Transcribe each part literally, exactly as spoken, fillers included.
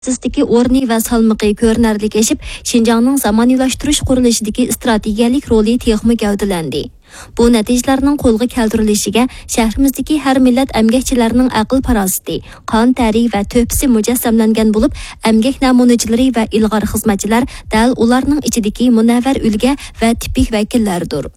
ئورنى ۋە سالمىقى كۆرۈنەرلىك ئېشىپ، شىنجاڭنىڭ زامانىۋىلاشتۇرۇش قۇرۇلۇشىدىكى ئىستراتېگىيەلىك رولى تېخىمۇ گەۋدىلەندى. بۇ نەتىجىلەرنىڭ قولغا كەلتۈرۈلۈشىگە شەھىرىمىزدىكى ھەر مىللەت ئەمگەكچىلەرنىڭ ئەقىل-پاراسىتى، قان تەرى ۋە تۆھپىسى مۇجەسسەملەنگەن بولۇپ، ئەمگەك نەمۇنىچىلىرى ۋە ئىلغار خىزمەتچىلەر دەل ئۇلارنىڭ ئىچىدىكى مۇنەۋۋەر ئۈلگە ۋە تىپىك ۋەكىللەردۇر.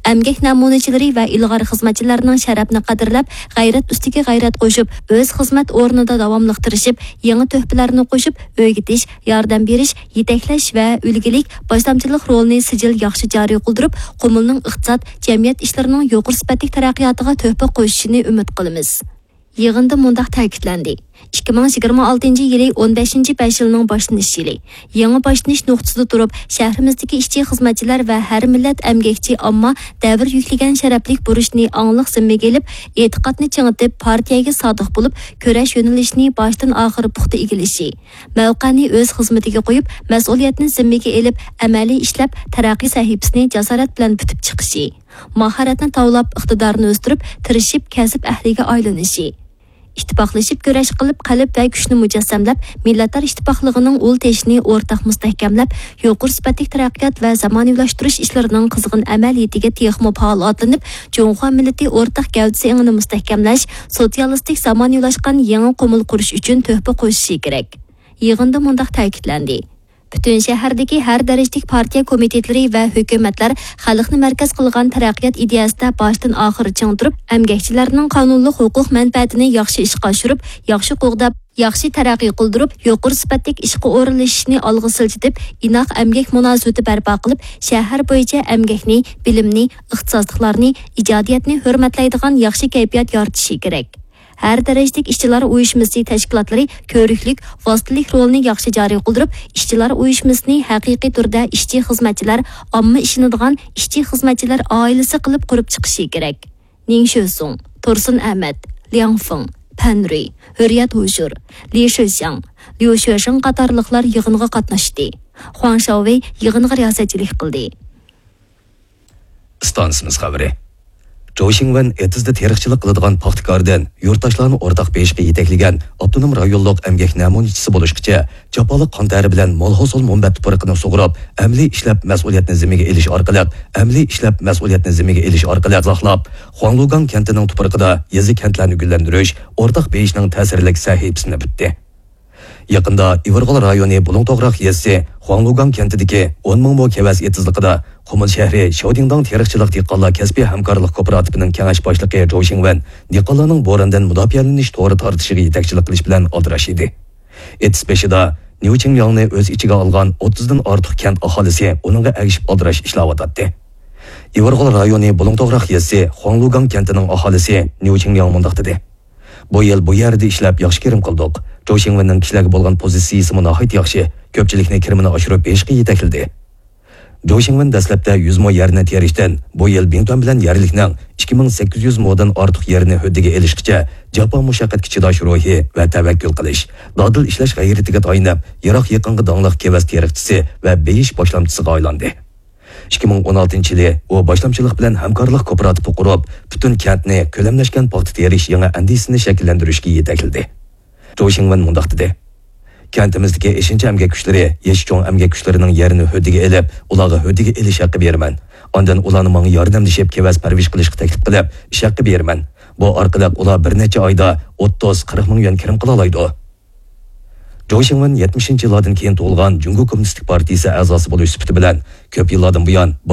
ئەمگەك نەمۇنىچىلىرى ۋە ئىلغار خىزمەتچىلەرنىڭ شەرەپنى قەدىرلەپ، غەيرەت ئۈستىگە غەيرەت قوشۇپ، ئۆز خىزمەت ئورنىدا داۋاملىق تىرىشىپ، يېڭى تۆھپىلەرنى قوشۇپ، ئۆگىتىش، ياردەم بېرىش، يېتەكلەش ۋە ئۈلگىلىك باشلامچىلىق رولىنى سىجىل ياخشى جارى قىلدۇرۇپ، قۇمۇلنىڭ ئىقتىساد، جەمئىيەت ئىشلىرىنىڭ يۇقىرى سۈپەتلىك تەرەققىياتىغا تۆھپە قوشۇشىنى ئۈمىد قىلىمىز. يىغىندا مۇنداق تەكىتلەندى: ئىككى مىڭ يىگىرمە ئالتىنچى يىلى ئون بەشىنچى بەش يىلنىڭ باشلىنىش يىلى. يېڭى باشلىنىش نۇقتىسىدا تۇرۇپ، شەھىرىمىزدىكى ئىشچى خىزمەتچىلەر ۋە ھەر مىللەت ئەمگەكچى ئامما دەۋر يۈكلىگەن شەرەپلىك بۇرچنى ئاڭلىق زىممىگە ئېلىپ، ئېتىقادنى چىڭىتىپ، پارتىيەگە سادىق بولۇپ، كۈرەش يۆنىلىشىنى باشتىن ئاخىر پۇختا ئىگىلىشى، مەۋقەنى ئۆز خىزمىتىگە قويۇپ، مەسئۇلىيەتنى زىممىگە ئېلىپ، ئەمەلىي ئىشلەپ، تەرەققىي سەھىپىسىنى جاسارەت بىلەن پۈتۈپ چىقىشى، ماھارەتنى تاۋلاپ، ئىقتىدارنى ئۆستۈرۈپ، تىرىشىپ، كەسىپ ئەھلىگە ئايلىنىشى، ئىتتىپاقلىشىپ كۈرەش قىلىپ، قەلب ۋە كۈچنى مۇجەسسەملەپ، مىللەتلەر ئىتتىپاقلىقىنىڭ ئۇل تېشىنى ئورتاق مۇستەھكەملەپ، يۇقىرى سۈپەتلىك تەرەققىيات ۋە زامانىۋىلاشتۇرۇش ئىشلىرىنىڭ قىزغىن ئەمەلىيىتىگە تېخىمۇ پائال ئاتلىنىپ، جۇڭخۇا مىللىتى ئورتاق گەۋدىسى ئېڭىنى مۇستەھكەملەش، سوتسىيالىستىك زامانىۋىلاشقان يېڭى قۇمۇل قۇرۇش ئۈچۈن تۆھپە قوشۇشى كېرەك. يىغىندا مۇنداق تەكىتلەندى: پۈتۈن شەھەردىكى ھەر دەرىجىلىك پارتىيە كومىتېتلىرى ۋە ھۆكۈمەتلەر خەلقنى مەركەز قىلغان تەرەققىيات ئىدىيەسىدە باشتىن ئاخىر چىڭ تۇرۇپ، ئەمگەكچىلەرنىڭ قانۇنلۇق ھوقۇق مەنپەئەتىنى ياخشى ئىشقا ئاشۇرۇپ، ياخشى قوغداپ، ياخشى تەرەققىي قىلدۇرۇپ، يۇقىرى سۈپەتلىك ئىشقا ئورۇنلىشىشنى ئالغا سىلجىتىپ، ئىناق ئەمگەك مۇناسىۋىتى بەرپا قىلىپ، شەھەر بويىچە ئەمگەكنى، بىلىمنى، ئىختىساسلىقلارنى، ئىجادىيەتنى ھۆرمەتلەيدىغان ياخشى كەيپىيات يارىتىشى كېرەك. ھەر دەرىجىلىك ئىشچىلار ئۇيۇشمىسى تەشكىلاتلىرى كۆرۈكلۈك، ۋاسىتىلىك رولىنى ياخشى جارى قىلدۇرۇپ، ئىشچىلار ئۇيۇشمىسىنى ھەقىقىي تۈردە ئىشچى خىزمەتچىلەر، ئامما ئىشىنىدىغان ئىشچى خىزمەتچىلەر ئائىلىسى قىلىپ قۇرۇپ چىقىشى كېرەك. نىڭ شۆسۇڭ، تۇرسۇن ئەمەت، لياڭ فېڭ، پەن رۇي، ھۆرىيەت ھۇژۇر، لى شېشياڭ، ليۇ شۆشېڭ قاتارلىقلار يىغىنغا قاتناشتى. خۇاڭ شاۋۋېي يىغىنغا رىياسەتچىلىك قىلدى. ئىستانسىمىز خەۋىرى. جوۋ شىڭۋېن ئېتىزدا تېرىقچىلىق قىلىدىغان پاختىكاردىن يۇرتداشلارنى ئورتاق بېيىشقا يېتەكلىگەن ئاپتونوم رايونلۇق ئەمگەك نەمۇنىچىسى بولۇشقىچە جاپالىق قان تەرى بىلەن مول ھوسۇل مۇنبەت تۇپرىقىنى سۇغۇرۇپ، ئەمەلىي ئىشلەپ مەسئۇلىيەتنى زىممىگە ئېلىش ئارقىلىق، ئەمەلىي ئىشلەپ مەسئۇلىيەتنى زىممىگە ئېلىش ئارقىلىق ئىزاھلاپ، خۇاڭلۇگاڭ كەنتىنىڭ تۇپرىقىدا يېزا كەنتلەرنى گۈللەندۈرۈش ئورتاق بېيىشنىڭ تەسىرلىك سەھىپىسىنى پۈتتى. يېقىندا ئىۋىرغول رايونى بۇلۇڭتوغراق يېزىسى خۇاڭلۇگاڭ كەنتىدىكى ئون مىڭ مو كېۋەز ئېتىزلىقىدا قۇمۇل شەھىرى شياۋدىڭداڭ تېرىقچىلىق دېھقانلار كەسپىي ھەمكارلىق كوپىراتىپىنىڭ كېڭەش باشلىقى جوۋ شىڭۋېن دېھقانلارنىڭ بوراندىن مۇداپىئەلىنىش تورى تارتىشىغا يېتەكچىلىك قىلىش بىلەن ئالدىراش ئىدى. ئېتىز بېشىدا نيۇ چىڭلياڭنى ئۆز ئىچىگە ئالغان ئوتتۇزدىن ئارتۇق كەنت ئاھالىسى ئۇنىڭغا ئەگىشىپ ئالدىراش ئىشلەۋاتاتتى. ئىۋىرغول رايونى بۇلۇڭتوغراق يېزىسى خۇاڭلۇگاڭ كەنتىنىڭ ئاھالىسى نيۇ چىڭلياڭ مۇنداق دېدى. بۇ يىل بۇ يەردە ئىشلەپ ياخشى كىرىم قىلدۇق. جوۋ شىڭۋېننىڭ كىشىلەرگە بولغان پوزىتسىيىسىمۇ ناھايىتى ياخشى، كۆپچىلىكنى كىرىمىنى ئاشۇرۇپ بېرىشقا يېتەكلىدى. جوۋ شىڭۋېن دەسلەپتە يۈز مو يەرنى تېرىشتىن، بۇ يىل بىڭتۈەن بىلەن يەرلىكنىڭ ئىككى مىڭ سەككىز يۈز مودىن ئارتۇق يېرىنى ھۆددىگە ئېلىشقىچە جاپا مۇشەققەتكە چىداش روھى ۋە تەۋەككۈل قىلىش، دادىل ئىشلەش غەيرىتىگە تايىنىپ، يىراق يېقىنغا داڭلىق كېۋەز تېرىقچىسى ۋە بېيىش باشلامچىسىغا ئايلاندى. ئىككى مىڭ ئون ئالتىنچى يىلى ئۇ باشلامچىلىق بىلەن ھەمكارلىق كوپىراتىپى قۇرۇپ، پۈتۈن كەنتنى كۆلەملەشكەن پاختا تېرىش يېڭى ئەندىزىسىنى شەكىللەندۈرۈشكە يېتەكلىدى. جوۋ شىڭۋېن مۇنداق دېدى: كەنتىمىزدىكى ئېشىنچا ئەمگەك كۈچلىرى يېشى چوڭ ئەمگەك كۈچلىرىنىڭ يېرىنى ھۆددىگە ئېلىپ، ئۇلارغا ھۆددىگە ئېلىش ھەققى بېرىمەن. ئاندىن ئۇلارنى ماڭا ياردەملىشىپ كېۋەز پەرۋىش قىلىشقا تەكلىپ قىلىپ، ئىش ھەققى بېرىمەن. بۇ ئارقىلىق ئۇلار بىر نەچچە ئايدا ئوتتۇز، قىرىق مىڭ يۈەن كىرىم قىلالايدۇ. جوۋ شىڭۋېن يەتمىشىنچى يىللاردىن كېيىن تۇغۇلغان جۇڭگو كوممۇنىستىك پارتىيىسى ئەزاسى بولۇش سۈپىتى بىلەن، كۆپ يىللاردىن بۇيان